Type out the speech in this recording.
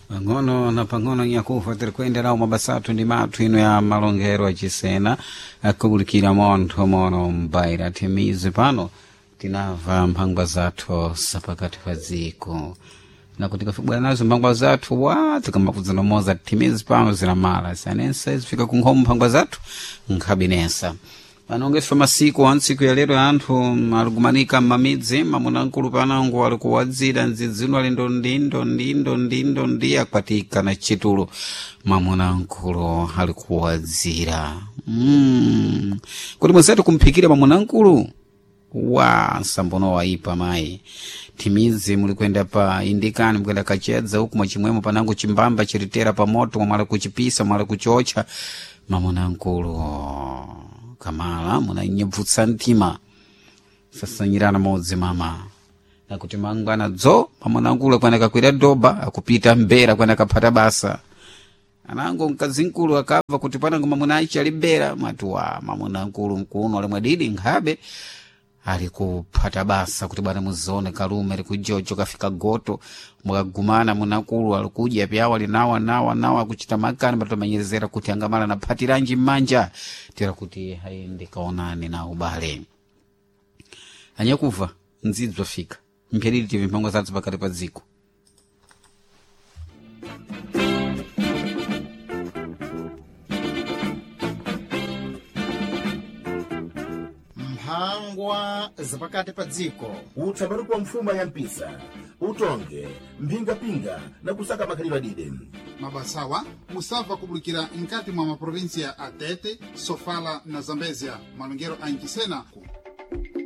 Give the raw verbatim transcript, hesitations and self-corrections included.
Pang'ono na pang'ono nyakufa tiri kuenderawo mabasa athu ndi mathu ino ya malongero achisena akukulikira montho mono mbaira thimizi pano tinamva mphangwa zathu zapakati pa dziko nakuti kafibwera nazo mphangwa zathu wa tikamakudzanomoza thimizi pano zinamala sanense zifika kunkhomo mphangwa zathu nkhabinesa panongefa masiku a ntsiku ya lero anthu alikumanika m'mamidzi mamuna mkulu panango ali kuwadzira mdzidzino ali ndondindo ndindo ndindo ndi akwatika na chitulo mamuna mkulu ali kuwadzira mm. kuti muzati kumphikira mamuna mkulu wa nsambono waipa mayi thimidzi muli kuyenda pa indikani mukuyenda kachedza uku mwachimwemo panango chimbamba chiritera pa moto mwamala kuchipisa mwamala kuchocha mamuna mkulu kamala munanyebvutsa mtima sasanyirana modzi mama nakuti mangwana dzo mamuna mkulu akwana kakwira doba akupita mbera kwana kaphata basa anango mkazi mkulu akabva kuti panango mamuna achi ali bera mwati wa mamuna mkulu mkuno ali mwadidi nkhabe ali kuphata basa kuti bwana muzione kalume ali kujojo kafika goto mukagumana munakulu ali kudya pyawo ali nawa nawa nawa akuchita makani patomanyezera kuti angamala naphatiranji m'manja tira kuti ayi ndikaonane na ubale anyakuva ndzidzo afika mpheriri tive mphangwa zathu pakati pa dziko mphangwa zapakati pa dziko utsaparuku wa mfuma ya mpisa utonge mphingapinga na kusaka makhalidwe adide mabasawa musabva kubulikira nkati mwa maprovinsia a Tete, Sofala na Zambezia malongero a Ncisena.